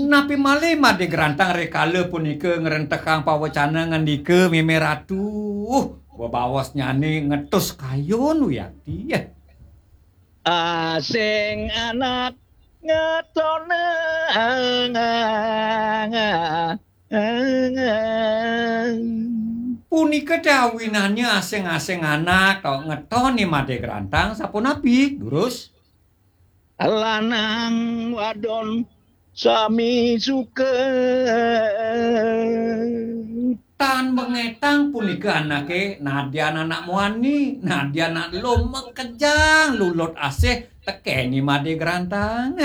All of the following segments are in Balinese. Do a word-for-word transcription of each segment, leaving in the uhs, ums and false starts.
Napi malih Madé Grantang rikala punika ngrentehang pawecana ngandika mémé ratu? Bebaosnyané ngetus kayun wiakti. Asing anak ngetonang. Punika té awinannya asing-asing anak kok ngetoni Madé Grantang sapunapi, durus? Lanang wadon sami suka. Tan bengetang punika anaké, nadyan anak muani, nadyan anak lom makejang lulut asih tekeni Madé Grantang.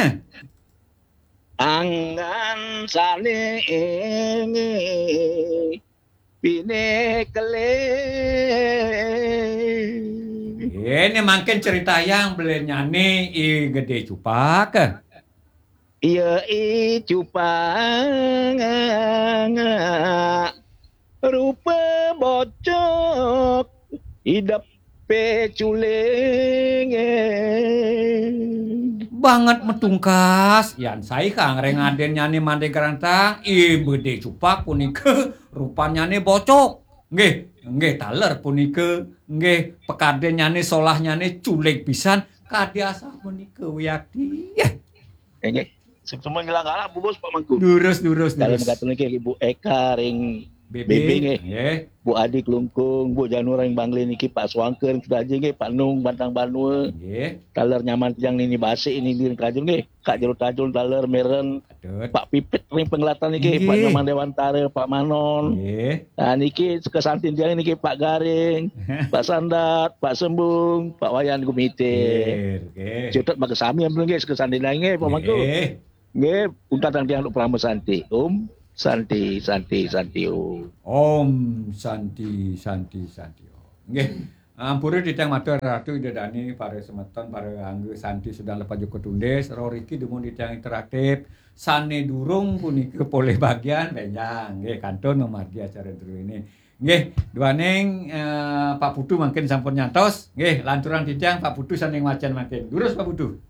Anggan sané pinekelih. Ini mangkin critayang belinyané I Gedé Cupak. Iya, I Cupak. Rupa bocok, idepé culing. Banget matungkas, yan saihang ring adinnyane Madé Grantang, I Gedé Cupak punika rupannyané bocok. Nggih, nggih, taler punika, nggih, pakadinnyane, solahnyane culing pisan, kadi asapunika wiakti. Nggih. Semua ngilang galak, bubus, Pak Mangku. Durus, durus, Dalam durus. Kata niki, Ibu Eka ring Bebe. Bebe, nggih. Nggih. Bu Adi Klungkung, Bu Janu ring Bangli niki, Pak Suangker ring Sudaji, nggih, Pak Nung Bantang Banua. Nggih. Taler nyaman tiang nini basi ini di Kajun, nggih. Kak Jero Tajun, taler Meren. Patut. Pak Pipit ring Penglatan niki, Pak Nggih. Nyoman Dewantara, Pak Manon. Nggih. Nah, niki kesantin tiang niki Pak Garing, Pak Sandat, Pak Sembung, Pak Wayan Gumite. Nggih, nggih. Cutet maka sami ampun nggih kesantin tiang nggih, Pak Mangku. Nggih. Nggih, untatang tiang untuk Parama Santi. Om Santi, Santi, Santi, Om. Om Santi, Santi, Santi, Om. Nggih. Ampura titiang matur Ratu Ida Dane, para semeton, para angga Santi sedang lepas joko tundis, riki dumun titiang interaktif, sane durung punika polih bagian, benjang, nggih, kantun mamargi acara druene. Nggih, duaning, eh, Pak Putu mangkin sampun nyantos, nggih, lanturang titiang Pak Putu sane ngwacen mangkin. Durus Pak Putu.